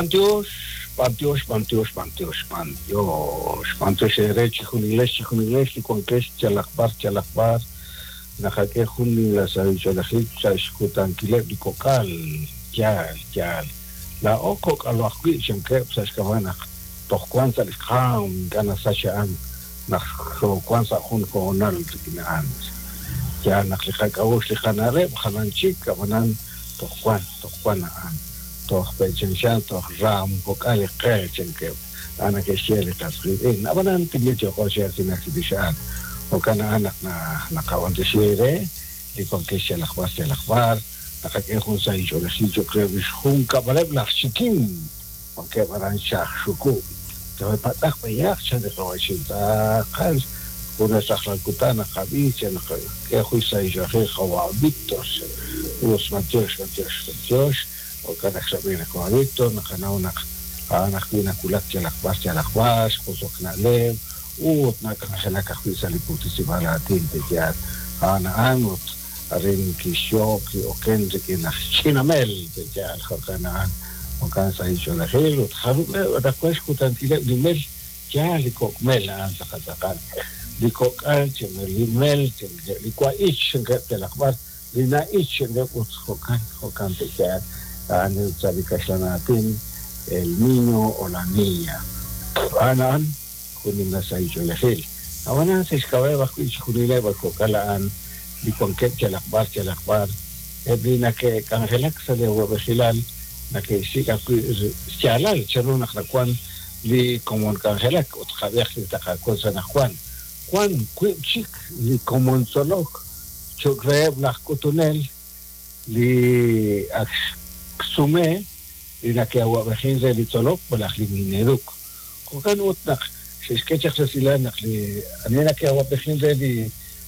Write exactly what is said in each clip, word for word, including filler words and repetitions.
B'antiox, b'antiox, b'antiox, b'antiox, b'antiox, b'antiox eere chijunilex, chijunilex li wankex yalaq b'ar, yalaq b'ar, naqak'e jun nimla sahil ch'oolejil sa' xkutankileb' li kok'al, yaal, yaal. Laa'o kok'alo ajwi' chankeb' sa' xk'ab'a' naq toj wan sa' li qaam, ink'a' nasach a'an naq xoowan sa' jun hoonal rik'in a'an. Yaal naq li qak'a'uxl li qana'leb' jalan chik, ab'anan toj wan, toj wan a'an. Toj pe'chanchan, toj raam kok'al li qe chankeb'. A'an neke'xye li qas qiitz'in. Ab'anan timil yo'qo chi aatinak chirix a'an. Jo'kan a'an naq naqab'antioxi eere li wankex yalaq b'ar, yalaq b'ar, naqak'e jun sahil ch'oolejil cho'q reheb' li xjunkab'aleb' laj Chikin, wankeb' aran Xajxuku'. Patz'aq b'eyaq chan li qawa'chin tz'aqal junes rajlal kutan naqab'i chan naqak'e jun sahil ch'oolejil qawa' Víctor. Us, b'antiox, b'antiox, b'antiox. Jo'kan naq xrab'i li qawa' Víctor, naqanaw naq a'an ajwi' nawulak yalaq b'ar, yalaq b'ar, xq'usok na'leb', ut nak'anjelak ajwi' sa' li puktisib'aal aatin pe'yaal. A'an a'an ut arin kixyoob' ki'oken rik'in laj Chinamel pe'yaal. Jo'kan a'an, jo'kan sahil ch'oolejil ut jarub'eb' anaqwan xkutankileb' li mel, yaal li kok' mel a'an tz'aqal tz'aqal. Li kok'al, li mel, li wa'ich chankeb' yalaq b'ar, li na'ich chankeb' ut jo'kan, jo'kan pe'yaal. A'an sa' li kaxlan aatin, el niño o la niña. A'an a'an jun nimla sahil ch'oolejil. Ab'anan sa' xk'ab'a'eb' ajwi' chijunileb' a kok'al a'an li wankeb' yalaq b'ar, yalaq b'ar, eb' li nake'k'anjelak sa' li awab'ejilal nake'xsik' ajwi' xyaalal chanru naq nawan li komon k'anjelak ut qab'ej li taqakol sa' naqwan. Wan wiib' chik li komon tzolok cho'q reheb' laj k'utunel li ak xsume li nake'awab'ejin re li tzolok malaj li Mineduc. Jo'kan ut naq xe'xk'e chaq resilal naq li ani nake'awab'ejin re li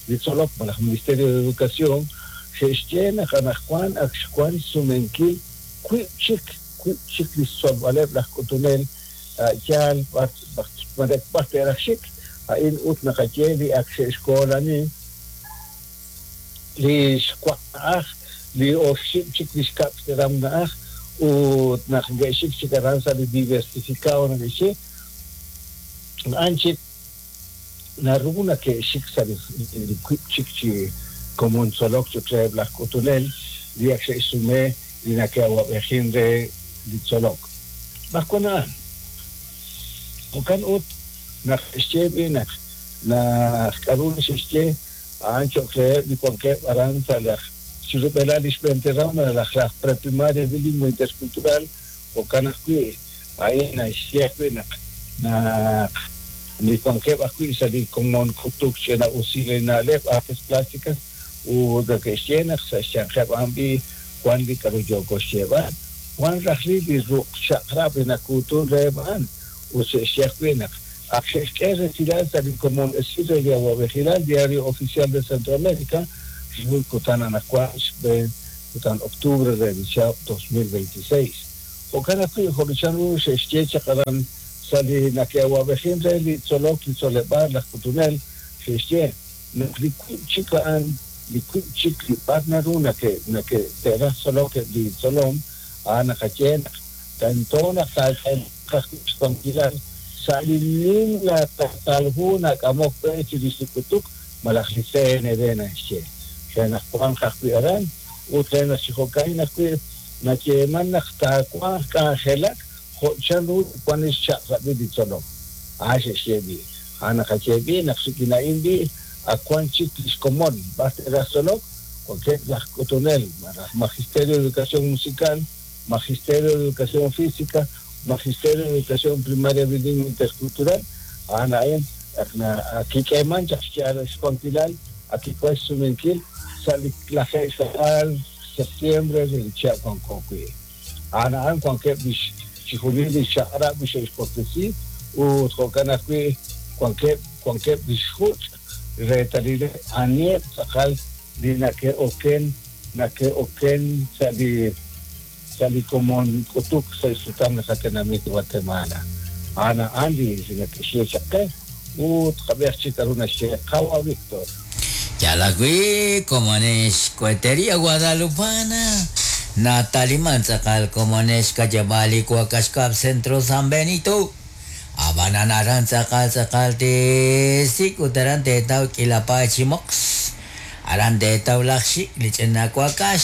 li tzolok malaj Ministerio de Educación xe'xye naq anaqwan ak xwan xsumenkil wiib' chik, wiib' chik li xtzolb'aleb' laj k'utunel yaal b'ar, b'ar, b'ar te'raj xik. A'in ut naqaye li ak xe'xkoolani li xwaq na'aj, li oxib' chik li xkab' xteram na'aj, ut naq nge'xik chik aran sa' li diversificado neke'xye, a'an chik naru nake'xik sa' li, li wiib' chik chi komon tzolok cho'q reheb' laj k'utunel li ak xe'xsume li nake'awab'ejin re li tzolok. B'arwan a'an. Jo'kan ut naq xye b'i naq naq k'a'ru li xe'xye a'an cho'q reheb' li wankeb' aran sa' laj chirub'elal li xb'een teram malaj laj preprimaria bilingüe intercultural. Jo'kan ajwi' a'in naxye ajwi' naq naq li wankeb' ajwi' sa' li komon k'utuk ch'ina'usil li na'leb' artes plásticas ut neke'xye naq sa' xyanqeb' a'an b'i wan li k'a'ru yooko xyeeb'al, wan rajlil li ruq' chaq'rab' li nakuutun reheb' a'an. Ut xe'xye ajwi' naq ak xe'xk'e resilal sa' li komon esil re li awab'ejilal Diario Oficial de Centroamérica ru kutan anaqwan xb'een kutan octubre re li chihab' dos mil veintiséis. Jo'kan ajwi' jo' li chanru xe'xye chaq aran sa' li nake'awab'ejin re li tzolok li tzoleb'aal laj k'utunel xe'xye naq li wiib' chik a'an li wiib' chik li b'ar naru nake', nake' te'raj tzolok eb' li tzolom, a'an naqaye naq tento naq taak'eemanq ajwi' xwankilal sa' li nimla tasal hu nak'amok b'e chirix li k'utuk malaj li C N D naxye. Re naq wanq ajwi' aran ut re naq chi jo'ka'in ajwi' nayeeman naq taawanq k'anjelak jo' chanru wan li xchaq'rab'il li tzolom. A'an xe'xye b'i. A'an naqaye b'i naq rik'in a'in b'i ak wan chik li xkomon b'ar te'raj tzolok, wankeb' laj k'utunel malaj Magisterio de Educación Musical, Magisterio de Educación Física, Magisterio de Educación Primaria Bilingüe Intercultural. A'an a'in ak na-, ak kik'eeman chaq xyaal xwankilal, ak kik'e xsumenkil sa' li lajeeb' xka'k'aal septiembre re li chihab' wanko wi'. A'an a'an wankeb' li chijunil li chaq'rab' li xe'xwaklesi ut jo'kan ajwi' wankeb', wankeb' li xjuch' reetalileb' aniheb' tz'aqal li nake'oken, nake'oken sa' li, sa' li komon k'utuk sa' xsutam li qatenamit Guatemala. A'an a'an li nake'xye chaq qe ut qab'ej chik k'a'ru naxye qawa Víctor. Ya la vi, como en Cohetería Guadalupana. Nataliman tz'aqal komonex kayab'al li wakax kab' Centro San Benito. Ab'anan aran tz'aqal tz'aqal teesik' ut aran teetaw k'iila paay chi moqs. Aran teetaw laj xik' li ch'ina wakax.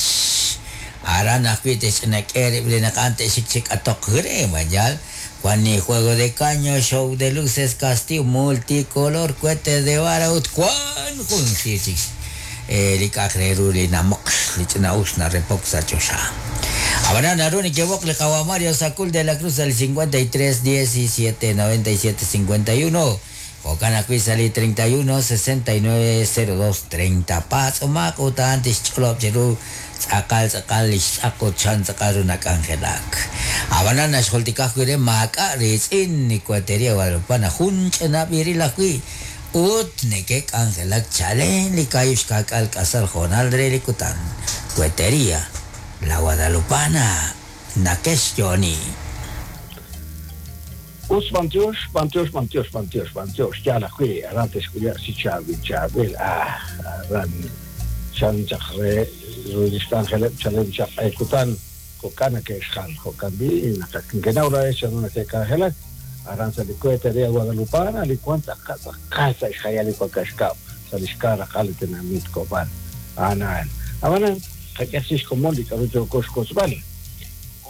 Aran ajwi' te'xch'ina k'e rib' li naq a'an te'xik chi k'atoq re mayal. Wan ni juego de caño, show de luces, castillo multicolor, cohete de vara ut wan jun siir chik li k'a'aq re ru li namoqx li ch'ina'us narepok sa' choxa. Ab'anan naru neke'woq li qawa Mario Sacul de la Cruz al cincuenta y tres diecisiete noventa y siete cincuenta y uno. Jo'kan ajwi' sa' li treinta y uno sesenta y nueve cero dos treinta. Patz'omaq ut a'an tixch'olob' chiru tz'aqal tz'aqal li xtz'aq ut chan tz'aqal ru nak'anjelak. Ab'anan naxjultika ajwi' re maak'a' riitz'in ni Cohetería Guadalupana jun ch'ina b'iril ajwi' ut neke'k'anjelak chalen li kaahib' xka'k'aal k'asal jo'nal re li kutan. Cohetería La Guadalupana nakex yooni. Us bantiox, bantiox, bantiox, bantiox, bantiox. Yaal ajwi' aran te'xk'ulaq chi chaab'il chaab'il. Ah, aran chan chaq re ru lix k'anjeleb' chalen chaq kutan jo'kan neke'xjal jo'kan b'i naq nkenaw ra chan neke'k'anjelak aran sa' li Cohetería Guadalupana li wan tz'aqal tz'aqal sa' xjayal li wakax kab' sa' li xka raqal li tenamit Cobán. A'an ab'anan qak'e xkomon li k'aru yooko xkotzb'al.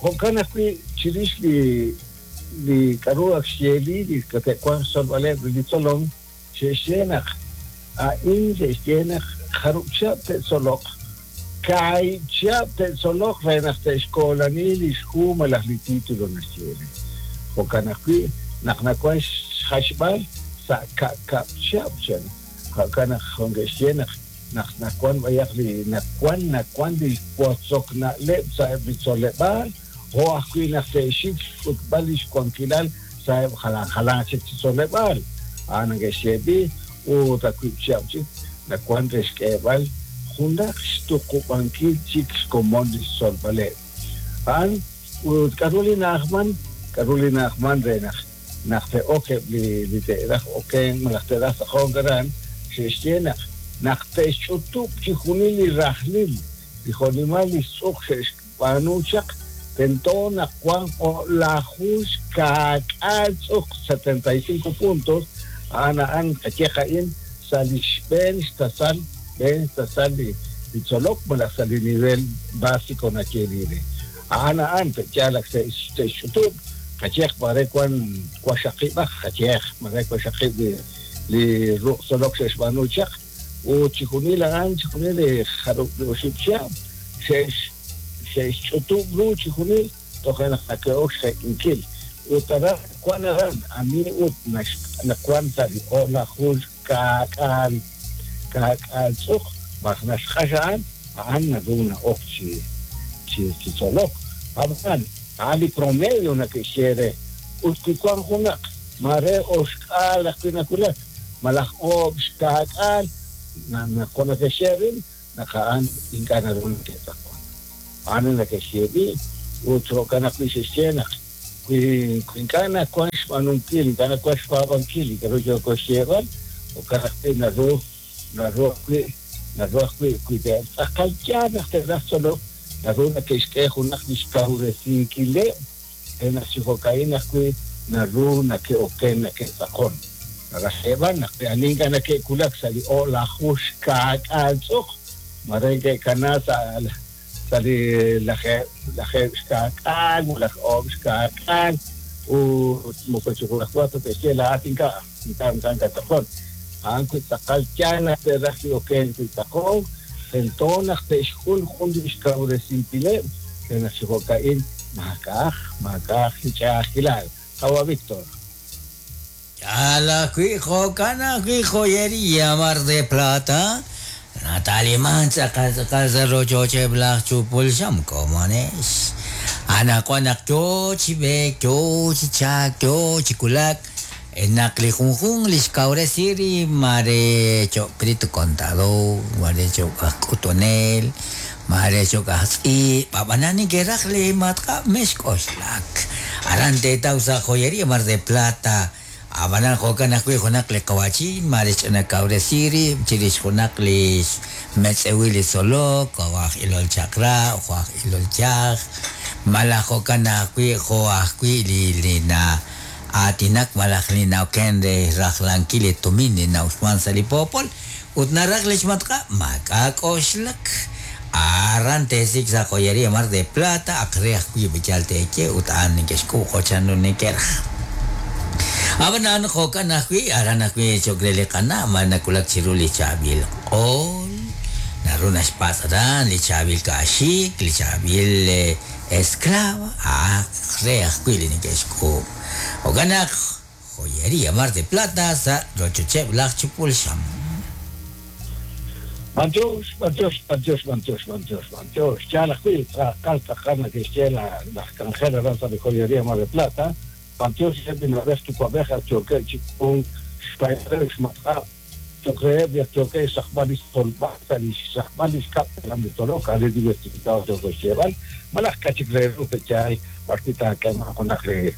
Jo'kan ajwi' chirix li li k'aru ak xyeeli li kate'wanq xtzolb'aleb' li tzolom xe'xye naq a'in xe'xye naq jarub' chihab' te'tzoloq kaahib' chihab' te'tzoloq re naq te'xkoolani li xhu malaj li título naxyeeli. Jo'kan ajwi' naq nawan xjaxb'al sa' ka'kab' chihab' chan. Jo'kan naq ke'xye naq naq nawan b'ayaq li nawan nawan li wotzok na'leb' sa'eb' li tzoleb'aal jo' ajwi' naq te'xik xk'utb'al li xwankilal sa'eb' jalan jalan chik chi tzoleb'aal. A'an neke'xye b'i ut ajwi' chihab' chik nawan re xk'eeb'al junaq xtuqub'ankil chik xkomon li xtzolb'aleb'. A'an ut k'aru li na'ajman k'aru li na'ajman re naq naq te'ok eb' li li te'raj oken malaj te'raj tz'aqonk aran xe'xye naq naq te'xch'utub' chi junil li rajlil li jo'nimal li xtz'uq xe'xb'aanu chaq tento naq wan o'laju xka'k'aal tz'uq setenta y cinco puntos. A'an a'an qaye qa'in sa' li xb'een xtasal b'een xtasal li li tzolok malaj sa' li nivel básico nayeeli re. A'an a'an te'yaalak te'xch'utub' qayeq mare wan waxaqib'aj qayeq mare waxaqib' li li ruq' tzolok xe'xb'aanu chaq ut chi junil a'an chi junil li jarub' li oxib' chihab' xe'x xe'xch'utub' ru chi junil toje' naq nake'ok xje'kinkil ut aran wan aran ani ut nawan sa' li o'laju xka'k'aal ka'k'aal tz'uq b'aj naxq'ax a'an a'an naru na'ok chi chi chi tzolok. Ab'an a'an li promedio nake'xye re ut wi wan junaq mare oxk'aal ajwi' nawulak malaj oob' xka'k'aal naq nake'xye rin naq a'an ink'a' naru nake'tz'aqon. A'an nake'xye b'i ut jo'kan ajwi' xe'xye naq wi ink'a' nawan xb'aanunkil ink'a' nawan xpaab'ankil li k'aru yooko xyeeb'al jo'kan ajwi' naru naru ajwi' naru ajwi' wi te'tz'aqal yaal naq te'raj tzolok naru nake'xk'e junaq li xkawresinkileb' re naq chi jo'ka'in ajwi' naru nake'oken nake'tz'aqon. Naraj xyeeb'al naq ani ink'a' nake'wulak sa' li o'laju xka'k'aal tz'uq mare ke'kana sa' sa' li lajeeb' lajeeb' xka'k'aal malaj oob' xka'k'aal ut moko chi junajwa ta te'xye laa'at ink'a' ink'a' ink'a' nkatz'aqon. A'an wi tz'aqal yaal naq te'raj li oken wi tz'aqon tento naq te'xk'ul jun li xkawresinkileb' re naq chi jo'ka'in maak'a'aj maak'a'aj li ch'a'ajkilal. Qawa Víctor. Yala ajwi' jo'kan ajwi' Joyería Mar de Plata. Nataliman tz'aqal tz'aqal sa' rochocheb' laj chupul xam komonex. Anaqwan naq yo chi b'eek, yo chi chaak, yo chi kulak naq li junjun li xkawresi rib' mare cho'q perito contador, mare cho'q aj k'utunel, mare cho'q aj tz'iib', ab'anan neke'raj li matq'ab' mexk'oxlak. Aran teetaw sa' Joyería Mar de Plata Ab'anan jo'kan ajwi' junaq li qawa'chin mare xch'inakawresi rib' chirix junaq li xmetz'ewil li tzolok, jo' aj ilol chaq'rab', jo' aj ilol yaj, malaj jo'kan ajwi' jo' ajwi' li li na aatinak malaj li na'oken re rajlankil li tumin li na'uxman sa' li poopol ut naraj li xmatq'ab' maak'a' k'oxlak. Aran teesik' sa' Joyería Mar de Plata ak re ajwi' b'iyal teeye ut a'an neke'xk'uub' jo' chanru neke'raj. Ab'anan jo'kan ajwi' aran ajwi' cho'q re li qana' ma nawulak chiru li chaab'il q'ol, naru naxpatz' aran li chaab'il kaaxik, li chaab'il esclava, ak re ajwi' li neke'xk'uub'. Jo'kan naq Joyería Mar de Plata sa' rochocheb' laj chupul xam. B'antiox, b'antiox, b'antiox, b'antiox, b'antiox, b'antiox. Yaal ajwi' tz'aqal tz'aqal neke'xye laj k'anjel aran sa' li Joyería Mar de Plata. B'antiox eb' li na'b'ej yuwa'b'ej ak yookeb' chi k'uunk xpaayil xmatq'ab' cho'q reheb' li ak yookeb' xsaqb'al li xtzolb'al sa' li xsaqb'al li xkab' telam li tzolok, a'an li diversificado yooko xyeeb'al, malaj k'a' chik re ru pe'yaal b'arwi' taak'eemanq junaq li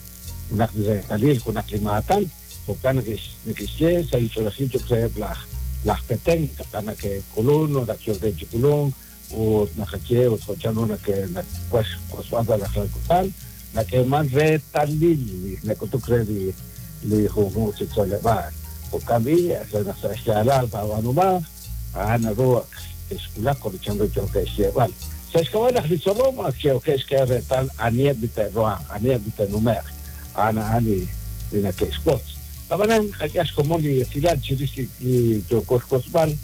junaq li reetalil, junaq li maatan, jo'kan neke'xye sa' li ch'oolejil cho'q reheb' laj laj Petén, taqan nake'k'ulun, naq yookeb' chi k'ulunk, ut naqaye ut jo' chanru nake nakuax xk'osb'al sa' laj kutan, nak'eeman reetalil li nak'utuk re li li junjunq chi tzoleb'aal. Jo'kan b'i' naq sa' xyaalal taab'aanumanq, a'an naru ak texwulaq jo' chanru yookeb' xyeeb'al. Sa' xk'ab'a' naq li tzolom ak yookeb' xk'e reetal aniheb' li te'ruhanq, aniheb' li te'nume'q, a'an a'an li li nake'xwotz. Ab'anan qak'e xkomon li esilal chirix li li yooko xwotzb'al,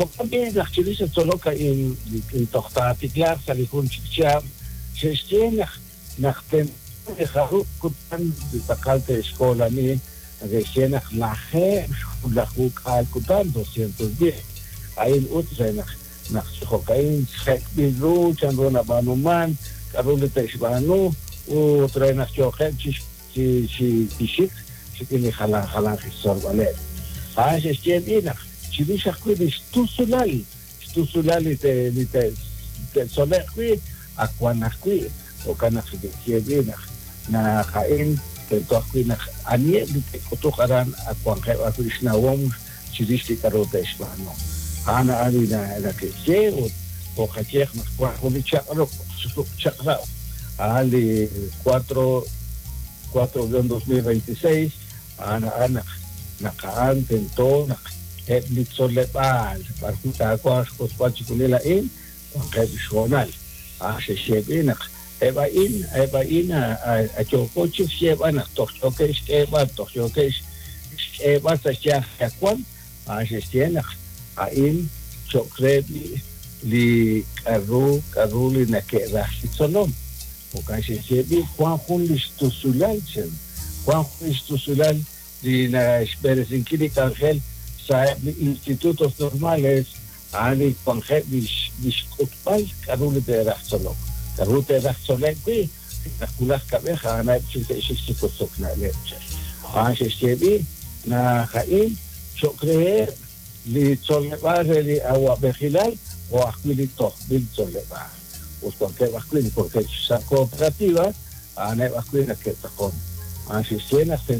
jo'kan b'i' naq chirix li tzolok a'in li toj taatiklaaq sa' li jun chik chihab', xe'xye naq naq tento li jarub' kutan li tz'aqal te'xkoolani, neke'xye naq lajeeb' xjunlaju k'aal kutan, doscientos diez. A'in ut re naq naq jo'ka'in jek'b'il ru chanru nab'aanuman, k'a'ru li te'xb'aanu, ut re naq yooqeb' chi chi chi xik rik'in li jalan jalan xtzolb'aleb'. A'an xe'xye b'i' naq chirix ajwi' li xtusulal, xtusulal li te li te te'tzole'q wi' ak wan ajwi', jo'kan naq xe'xye b'i' naq naq a'in tento ajwi' naq aniheb' li te'k'utuq aran ak wanqeb' ajwi' xnawom chirix li k'a'ru te'xb'aanu. A'an a'an li nake'xye ut jo'qayeq naq wan jun li chaq'rab' chaq'rab' a'an li cuatro cuatro guion dos mil veintiséis, a'an a'an naq naq a'an tento naq eb' li tzoleb'aal b'arwi' taawanq xk'osb'al chixjunil a'in wanqeb' xhoonal. A'an xe'xye b'i' naq eb' a'in eb' a'in yooko chik xyeeb'al naq toj yookeb' xk'eeb'al, toj yookeb' xk'eeb'al sa' xyanq wan, a'an xe'xye naq a'in cho'q re li k'a'ru k'a'ru li nake'raj li tzolom. Jo'kan xe'xye b'i' wan jun li xtusulal chen, wan jun li xtusulal li naxb'eresinkil li k'anjel sa' eb' li institutos normales, a'an li wanqeb' li xk'utb'al k'a'ru li te'raj tzolok. K'a'ru te'raj tzole'k wi' naq wulaj kab'ej a'aneb' chik te'xik chi wotzok na'leb' chen. A'an xe'xye b'i' naq a'in cho'q reheb' li tzoleb'aal re li awa'b'ejilal o ajwi' li tojb'il tzoleb'aal. Ut wankeb' ajwi' li wankeb' sa' cooperativa, a'aneb' ajwi' nake'tz'aqon. A'an xe'xye naq